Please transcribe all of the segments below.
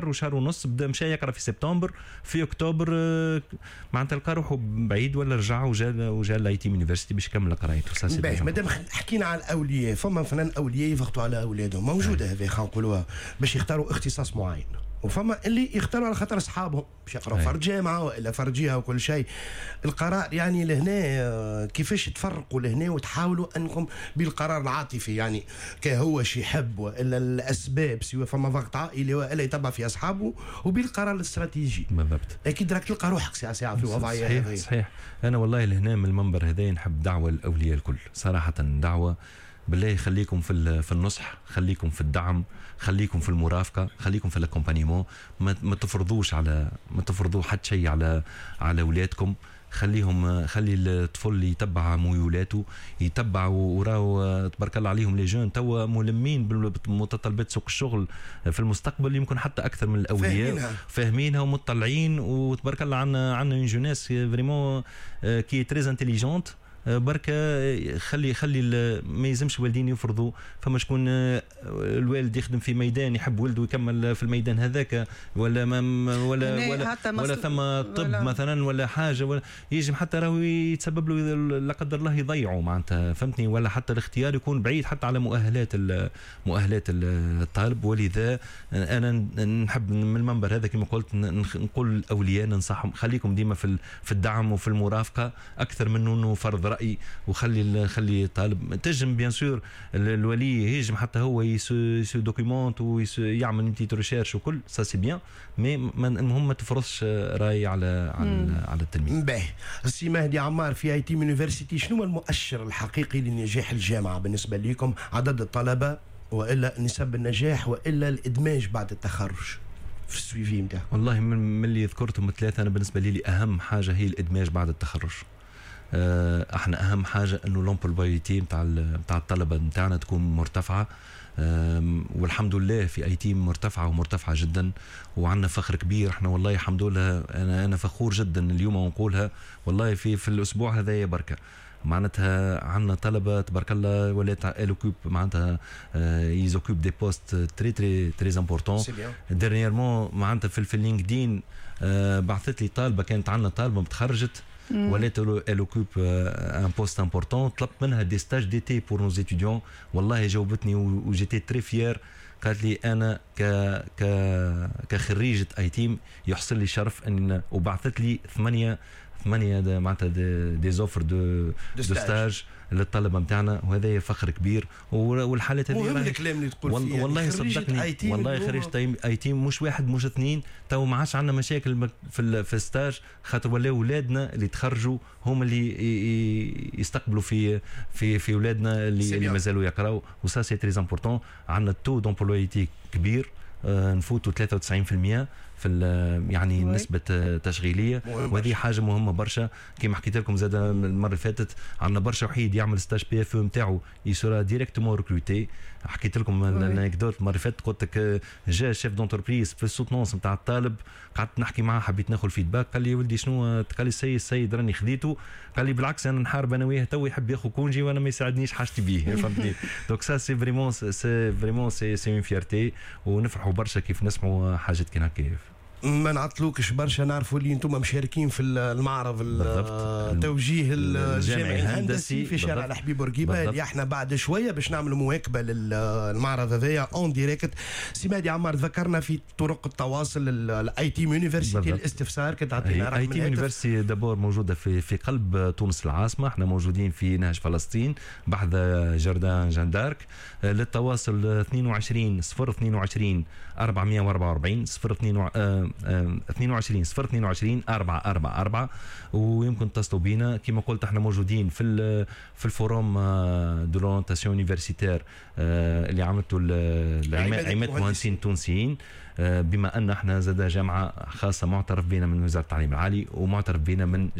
وشهر ونص بدا مشى يقرا في سبتمبر، في اكتوبر معناتها لقى روحه بعيد ولا رجع وجا l'ITIM University باش يكمل قرايته. باهي، مادام حكينا على الاولياء، فما مثلا اولياء يضغطوا على اولادهم، موجودة هذه خلينا نقولوها، باش يختاروا اختصاص معين، وفما اللي يختاروا على خاطر اصحابهم باش يقراوا فرد جامعه والا فرد جهة وكل شيء. القرار يعني لهنا كيفاش تفرقوا لهنا وتحاولوا انكم بالقرار العاطفي، يعني كهو شي يحب والا الاسباب، سواء فما ضغط عائلي والا يتبع في اصحابه، وبالقرار الاستراتيجي. اكيد راك تلقى روحك ساعة ساعة في وضعية. صحيح. هذه. صحيح، انا والله لهنا من المنبر هذا نحب دعوه الاولياء الكل صراحه، دعوه بالله خليكم في النصح، خليكم في الدعم، خليكم في المرافقه، خليكم في l'accompagnement. ما تفرضوا حتى شيء على اولادكم. خليهم، خلي الطفل يتبع ميولاته، يتبع وراو تبارك الله عليهم les jeunes توا ملمين بمتطلبات سوق الشغل في المستقبل، يمكن حتى اكثر من الاولياء. فاهمينها. فاهمينها ومطلعين، وتبارك الله عندنا une jeunesse vraiment qui est très intelligente. بركة خلي ما يلزمش الوالدين يفرضوا. فما شكون الوالد يخدم في ميدان، يحب ولده يكمل في الميدان هذاك، ولا ما ولا ولا ولا ثم طب ولا مثلا ولا حاجه، ولا يجم حتى راهو يتسبب له لا قدر الله يضيعه معناتها، فهمتني؟ ولا حتى الاختيار يكون بعيد حتى على مؤهلات الطالب. ولذا انا نحب من المنبر هذا كما قلت نقول الاولياء، ننصحهم خليكم ديما في الدعم وفي المرافقة اكثر من انه فرض راي، وخلي خلي الطالب تجم bien sûr الولي يجم حتى هو se documente ويعمل petite recherche وكل ça c'est bien، mais المهم ما تفرضش راي على التلميذ. باهي، السي مهدي عمار في ITIM University، شنو هو المؤشر الحقيقي لنجاح الجامعة بالنسبة لكم؟ عدد الطلبة والا نسب النجاح والا الادماج بعد التخرج في ال suivi نتاعو؟ والله من اللي ذكرتهم ثلاثه، انا بالنسبة لي اهم حاجة هي الادماج بعد التخرج. احنا اهم حاجة انه l'employabilité نتاع الطلبة نتاعنا تكون مرتفعه، والحمد لله في ITIM مرتفعة ومرتفعه جدا، وعندنا فخر كبير احنا والله الحمد لله. انا فخور جدا اليوم ونقولها والله في الاسبوع هذايا بركة معناتها عندنا طلبه تبارك الله ولات ils occupent معناتها ils occupent des postes très très très importants. dernièrement معناتها في LinkedIn بعثت لي طالبه، كانت عندنا طالبه متخرجت ولات elle occupe un poste important، طلبت منها des stages d'été pour nos étudiants، والله جاوبتني و j'étais très fier. قالت لي انا ك ك كخريجه ITIM يحصل لي شرف ان، وبعثت لي ثمانيه معناتها des offres de stage للطلبة نتاعنا، وهذا فخر كبير. والحالات هذه مهم الكلام اللي تقول فيه. والله يعني صدقني، والله خريج ITIM مش واحد مش اثنين. تو ما عادش عندنا مشاكل في stage، خاطر ولاو اولادنا اللي تخرجوا هم اللي يستقبلوا في اولادنا اللي مازالوا يقراوا، و ça c'est très important. عندنا taux d'employabilité كبير، نفوتوا 93% في يعني نسبة تشغيلية، وهذه حاجة مهمة برشا. كما حكيت لكم زاد المرة اللي فاتت، عندنا برشا وحيد يعمل stage PFE نتاعو il sera directement recruté. حكيت لكم l'anecdote المرة اللي فاتت، قلت لك جا chef d'entreprise في ال soutenance نتاع الطالب، قعدت نحكي معاه، حبيت ناخذ feedback. قال لي ولدي شنو؟ قال لي السيد راني خذيته. قال لي بالعكس، انا نحارب انا وياه، تو يحب ياخذ congé وانا ما يساعدنيش، حاجتي بيه، فهمتني؟ donc ça c'est vraiment c'est une fierté، ونفرحوا برشا كيف نسمعوا حاجات كي هكا. ما نعطلوكش برشا، نعرفوا اللي انتم مشاركين في المعرض التوجيه الجامعي الهندسي في شارع الحبيب بورقيبه، اللي احنا بعد شوية باش نعملوا مواكبة للمعرض هذايا en direct. سي مهدي عمار، ذكرنا في طرق التواصل ال ITIM University، الاستفسار كنت تعطينا رقم ITIM University d'abord موجودة في قلب تونس العاصمه، احنا موجودين في نهج فلسطين بحذا jardin Jeanne d'Arc. للتواصل 22 022 444 0 22 022 444، ويمكن تتصلوا بينا. كما قلت احنا موجودين في ال forum de l'orientation universitaire اللي عملته عماده المهندسين التونسيين، بما ان احنا زاد جامعه خاصة معترف بنا من وزارة التعليم العالي ومعترف بنا من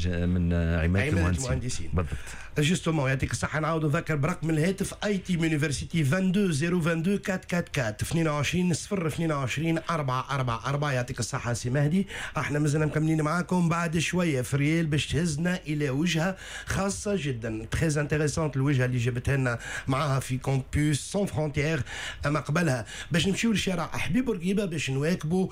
عماده المهندسين. بالضبط. justement، يعطيك الصحه. نعاود نذكر برقم الهاتف ITIM University 22 022 444، 22 022 444. يعطيك الصحة سي مهدي. احنا مازلنا مكملين معاكم بعد شويه، فريال باش تهزنا الى وجهه خاصة جدا، très intéressante، الوجهة اللي جابتها لنا معاها في Campus sans frontières. اما قبلها باش نمشيو لشارع حبيب بورقيبة باش باش نواكبوا.